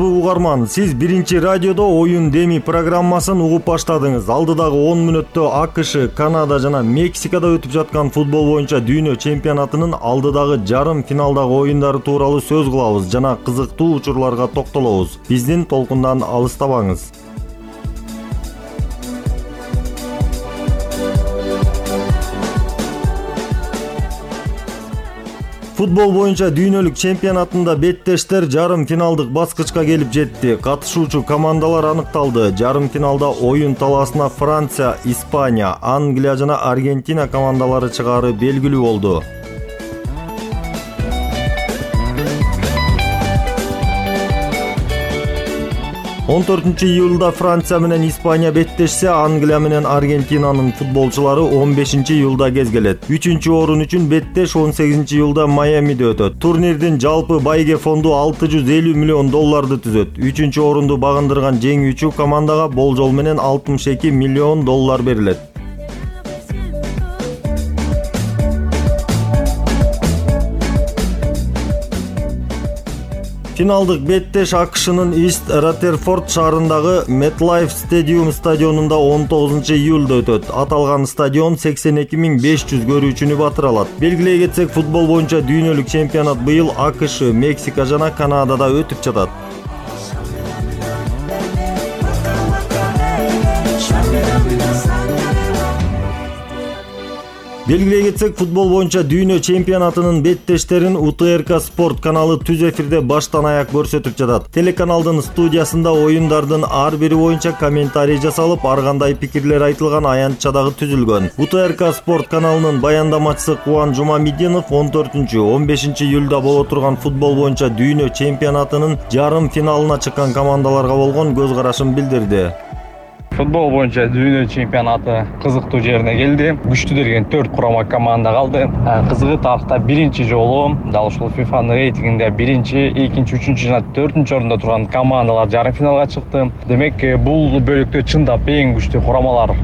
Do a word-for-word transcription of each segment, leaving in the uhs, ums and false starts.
Угарман, сиз биринчи радиодо оюн деми программасын угуп баштадыңыз. Алдыдагы он мүнөттө АКШ, Канада жана Мексикада өтүп жаткан футбол боюнча дүйнө чемпионатынын алдыдагы жарым финалдагы оюндары тууралуу сөз кылабыз жана кызыктуу учурларга токтолобуз. Биздин толкундан алыстабаңыз. Футбол боюнча дүйнөлүк чемпионатында беттештер жарым финалдык баскычка келип жетти. Катышуучу командалар аныкталды. Жарым финалда оюн талаасына Франция, Испания, Англия жана Аргентина командалары чыгаары белгилүү болду. он төртүнчү июлда Франция менен Испания беттешсе, Англия менен Аргентинанын футболчулары он бешинчи июлда кезгелет. үчүнчү орун үчүн беттеш он сегизинчи июлда Майамиде өтөт. Турнирдин жалпы байге фонду алты жүз элүү миллион долларды түзөт. үчүнчү орунду багындырган жеңүүчү командага болжол менен алтымыш эки миллион доллар берилет. Финалдык беттеш АКШнын Ист Раттерфорд шаарындагы MetLife Stadium стадионунда он тогузунчу июлда өтөт. Аталган стадион сексен эки миң беш жүз көрүүчүнү батыра алат. Белгилей кетсек, футбол боюнча дүйнөлүк чемпионат быйыл АКШ, Мексика жана Канадада өтүп жатат. Белгилей кетсек, футбол боюнча дүйнө чемпионатынын беттештерин УТРК Спорт каналы түз эфирде баштан аяк көрсөтүп жатат. Телеканалдын студиясында оюндардын ар бири боюнча комментарий жасалып, ар кандай пикирлер айтылган аянтча дагы түзүлгөн. УТРК Спорт каналынын баяндамачысы Кубан Жумамединов он төртүнчү он бешинчи июлда боло турган футбол боюнча дүйнө чемпионатынын жарым финалына чыккан командаларга болгон көз карашын билдирди. Футбол боюнча дүйнө чемпионаты кызыктуу жерине келди. Күчтүү деген төрт курама команда калды. Кызыгы, тарыхта биринчи жолу дал ушул фифанын рейтингинде биринчи, экинчи, үчүнчү жана төртүнчү орунда турган командалар жарым финалга чыкты. Демек, бул бөлүктө чындап эң күчтүү курамалар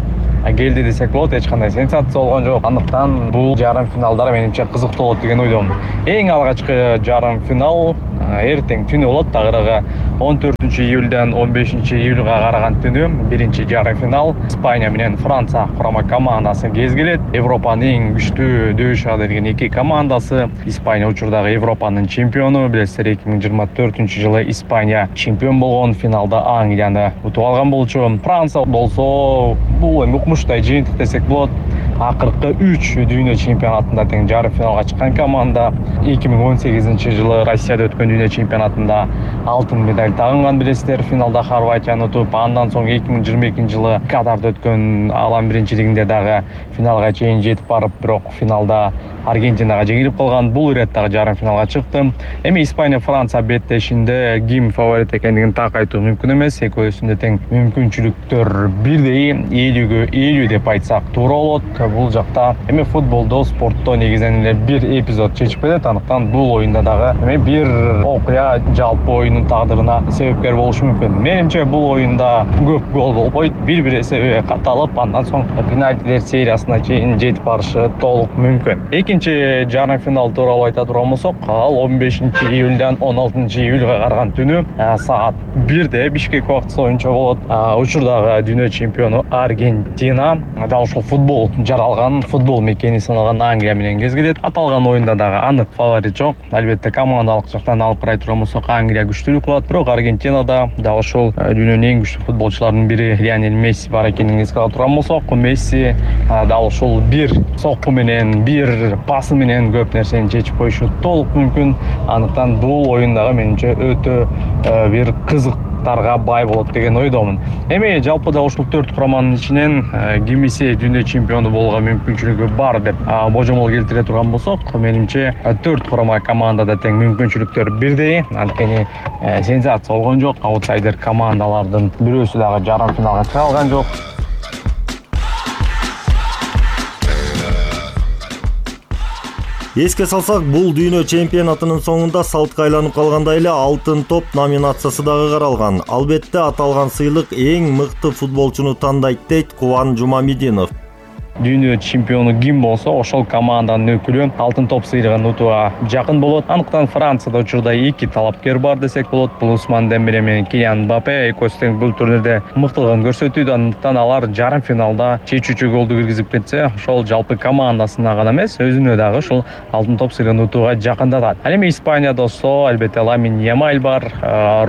келди десек болот. Эч кандай сенсация болгон жок. Андыктан бул жарым финалдар менимче кызыктуу болот деген ойдомун. Эң алгачкы жарым финал эртең түнү болот. Тагыраагы он төртүнчү июлдан он бешинчи июлга караган түнү биринчи жарым финал Испания менен Франция курама командасы кезгелет. Европанын эң күчтүү дөшө деген эки командасы. Испания учурдагы Европанын чемпиону. Билесиздер, эки миң жыйырма төртүнчү жылы Испания чемпион болгон, финалда Англияны утуп алган болчу. Франция болсо бул эми укмуштай жыйынтык десек болот. Акыркы үч дүйнө чемпионатында тең жарым финалга чыккан команда. эки миң он сегизинчи жылы Россияда өткөн дүйнө чемпионатында алтын медаль тагынган, билесиздер, финалда Хорватияны утуп. Андан соң эки миң жыйырма экинчи жылы Катарда өткөн алам биринчилигинде дагы финалга чейин жетип барып, бирок финалда Аргентинага жеңилип калган. Бул ирет дагы жарым финалга чыкты. Эми Испания Франция беттешинде ким фаворит экендигин так айтуу мүмкүн эмес. Экөөсүндө тең мүмкүнчүлүктөр бирдей, элүүгө элүү деп айтсак туура болот. Бул жакта эми футболдо, спортто негизинен эле бир эпизод чечип кетет. Андыктан бул оюнда дагы эми бир окуя жалпы оюндун тагдырына себепкер болушу мүмкүн. Менимче бул оюнда көп гол болбойт, бир-бир эсеби катталып, андан соң пенальтилер сериясына чейин жетип барышы толук мүмкүн. Экинчи жарым финал тууралуу айта турган болсок, ал он бешинчи июлдан он алтынчы июлга караган түнү саат бирде Бишкек убактысы боюнча болот. Учурдагы дүйнө чемпиону Аргентина дал ушул футбол жаралган, футбол мекени саналган Англия менен кезгелет. Аталган оюнда дагы анык фаворит жок. Албетте, командалык жактан алып карай турган болсок, Англия күчтүүлүк кылат, бирок Аргентинада дал ушул дүйнөнүн эң күчтүү футболчуларынын бири Лионель Месси бар экенин эске ала турган болсок, Месси дал ушул бир сокку менен, бир пасы менен көп нерсени чечип коюшу толук мүмкүн. Андыктан бул оюн дагы менимче өтө бир кызык бай болот деген ойдомун. Эми жалпыда ушул төрт кураманын ичинен кимиси дүйнө чемпиону болууга мүмкүнчүлүгү бар деп божомол келтире турган болсок, менимче төрт курама командада тең мүмкүнчүлүктөр бирдей. Анткени сенсация болгон жок. Аутсайдер командалардын бирөөсү дагы жарым финалга чыга алган жок. Эске салсак, бул дүйнө чемпионатынын соңунда салтка айланып калгандай эле алтын топ номинациясы дагы каралган. Албетте, аталган сыйлык эң мыкты футболчуну тандайт дейт Кубан Жумамединов. дүйнө чемпиону ким болсо ошол команданын өкүлү алтын топ сыйлыгын утууга жакын болот. Анықтан Францияда учурда эки талапкер бар десек болот. Бул Усман Дембеле менен Килиан Мбаппе. Экөөсү тең бул турнирде мыктылыгын көрсөтүүдө. Андыктан алар жарым финалда чечүүчү голду киргизип кетсе, ошол жалпы командасына гана эмес, өзүнө дагы ушул алтын топ сыйлыгын утууга жакындатат. Ал эми Испанияда болсо, албетте Ламин Ямаль бар,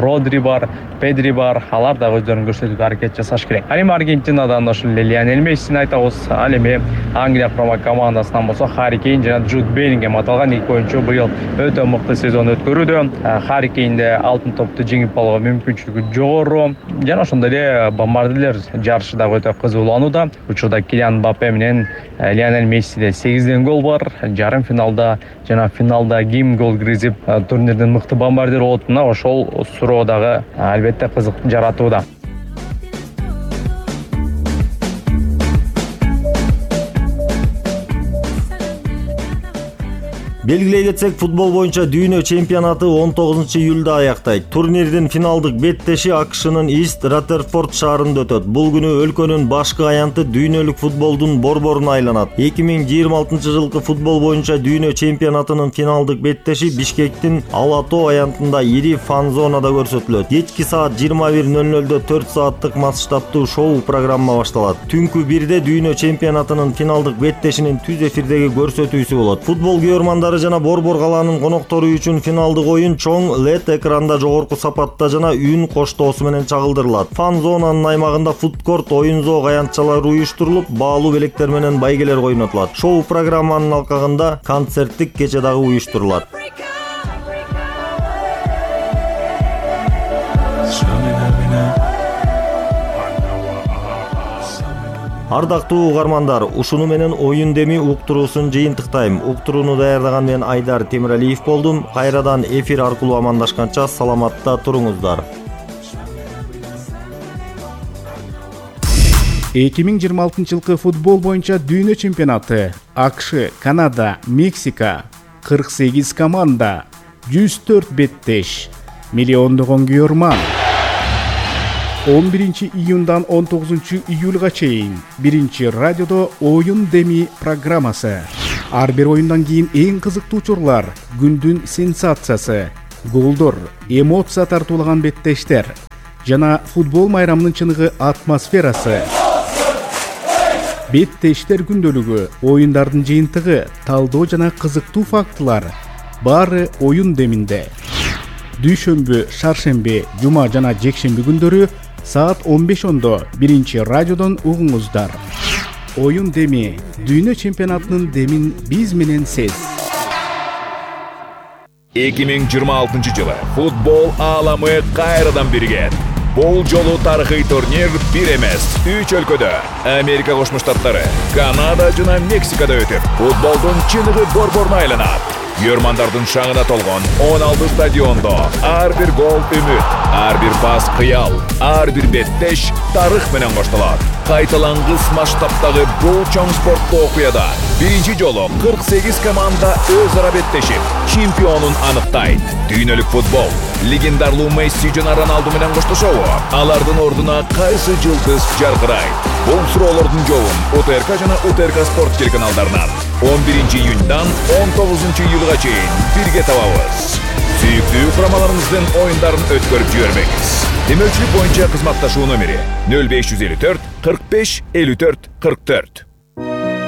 Родри бар, Педри бар. Алар дагы өздөрүн көрсөтүүгө аракет жасаш керек. Ал эми Аргентинадан ошол Лионель Мессини айтабыз. Ал эми Англия курама командасынан болсо Харри Кейн жана Джуд Беллингем аталган эки оюнчу быйыл өтө мыкты сезон өткөрүүдө. Харри Кейнде алтын топту жеңип алууга мүмкүнчүлүгү жогору. Жана ошондой эле бомбардирлер жарышы дагы өтө кызууланууда. Учурда Килиан Мбаппе менен Лионель Мессиде сегизден гол бар. Жарым финалда жана финалда ким гол киргизип турнирдин мыкты бомбардир болотуна ошол суроо дагы албетте кызык жаратууда. Белгилей кетсек, футбол боюнча дүйнө чемпионаты он тогузунчу июлда аяктайт. Турнирдин финалдык беттеши АКШнын Ист Раттерфорд шаарында өтөт. Бул күнү өлкөнүн башкы аянты дүйнөлүк футболдун борборуна айланат. эки миң жыйырма алтынчы жылкы футбол боюнча дүйнө чемпионатынын финалдык беттеши Бишкектин Алатоо аянтында ири фан зонада көрсөтүлөт. Кечки саат жыйырма бир ноль нолдо төрт сааттык масштабтуу шоу программа башталат. Түнкү бирде дүйнө чемпионатынын финалдык беттешинин түз эфирдеги көрсөтүүсү болот. Футбол көрөрмандары жана Борбор калаанын коноктору үчүн финалдык оюн чоң лед экранда жогорку сапатта жана үн коштоосу менен чагылдырылат. Фан зонанын аймагында фудкорт, оюн зоок аянтчалары уюштурулуп, баалуу белектер менен байгелер ойнотулат. Шоу программанын алкагында концерттик кече дагы уюштурулат. Ардактуу угармандар, ушуну менен оюн деми уктуруусун жыйынтыктайм. Уктурууну даярдаган мен Айдар Темиралиев болдум. Кайрадан эфир аркылуу амандашканча саламатта туруңуздар. эки миң жыйырма алтынчы жылкы футбол боюнча дүйнө чемпионаты АКШ, Канада, Мексика, кырк сегиз команда, жүз төрт беттеш, миллиондогон көрөрман. он биринчи июндан он тогузунчу июлга чейин биринчи радиодо оюн деми программасы. Ар бир оюндан кийин эң кызыктуу учурлар, күндүн сенсациясы, голдор, эмоция тартуулаган беттештер жана футбол майрамынын чыныгы атмосферасы. Беттештер күндөлүгү, оюндардын жыйынтыгы, талдоо жана кызыктуу фактылар баары оюн деминде. Дүйшөмбү, шаршемби, жума жана жекшемби күндөрү саат он беш ондо биринчи радиодон угуңуздар. Оюн деми, дүйнө чемпионатынын демин биз менен сез. эки миң жыйырма алтынчы жылы футбол ааламы кайрадан биригет. Бул жолу тарыхый турнир бир эмес, үч өлкөдө, Америка Кошмо Штаттары, Канада жана Мексикада өтүп, футболдун чыныгы борборуна айланат. Көрөрмандардын шаңына толгон он алты стадиондо ар бир гол үмүт, ар бир пас кыял, ар бир беттеш тарых менен коштолот. Кайталангыс масштабтагы бул чоң спорттуу окуяда биринчи жолу кырк сегиз команда өз ара беттешип, чемпионун аныктайт. Дүйнөлүк футбол легендарлуу Месси жана Роналду менен коштошобу? Алардын ордуна кайсы жылдыз жаркырайт? Бул суроолордун жообун УТРК жана УТРК спорт телеканалдарынан он биринчи июндан он тогузунчу июлга чейин бирге табабыз. Сүйүктүү курамаларыбыздын оюндарын өткөрүп жибербеңиз. Демөчүлүк боюнча кызматташуу номери нөл беш жүз элүү төрт кырк беш элүү төрт кырк төрт.